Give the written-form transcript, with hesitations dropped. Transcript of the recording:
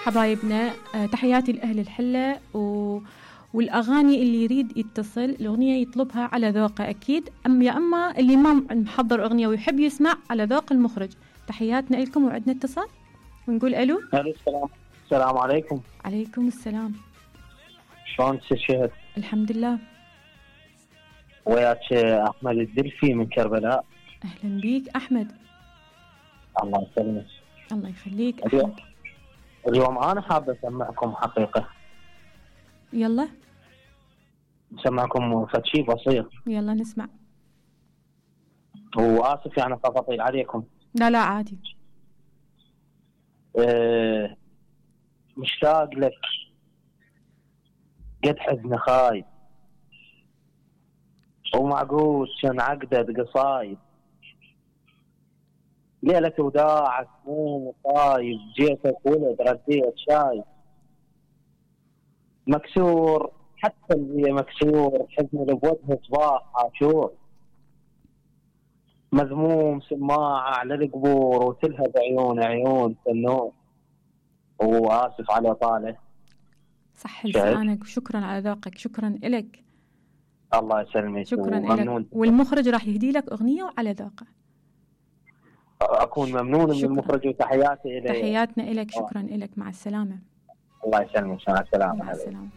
حبايبنا، تحياتي لأهل الحلة والأغاني اللي يريد يتصل الأغنية يطلبها على ذوقه أكيد، أما اللي ما محضر أغنية ويحب يسمع على ذوق المخرج. تحياتنا لكم وعدنا اتصال ونقول ألو. السلام عليكم. عليكم السلام. شلون تشهد؟ الحمد لله. وياك أحمد الدلفي من كربلاء. أهلا بيك أحمد. الله يسلمك. الله يخليك أحمد. اليوم أنا حاب أسمعكم حقيقة. يلا أسمعكم فشي بسيط. يلا نسمع. وآسف يعني تطيل عليكم. لا عادي. مشتاق لك قد حزن خايب، ومعقود كان عقدة قصايب، ليلة وداعك مو طايب، جيتك ولد رديت شايب، مكسور حتى اللي مكسور، حزن اللي بوجهه صباح عاشور، مذموم سماعة على القبور، وتلهب عيون عيون النور. وآسف على طاله. صح لسانك، وشكرا على ذوقك، شكرا إلك. الله يسلمك. شكرا لك. والمخرج راح يهدي لك أغنية وعلى ذوقه. أكون ممنون من المخرج، وتحياتي إليه. تحياتنا إلك. شكرا إلك. مع السلامة. الله يسلمك. مع السلامة. مع السلامة.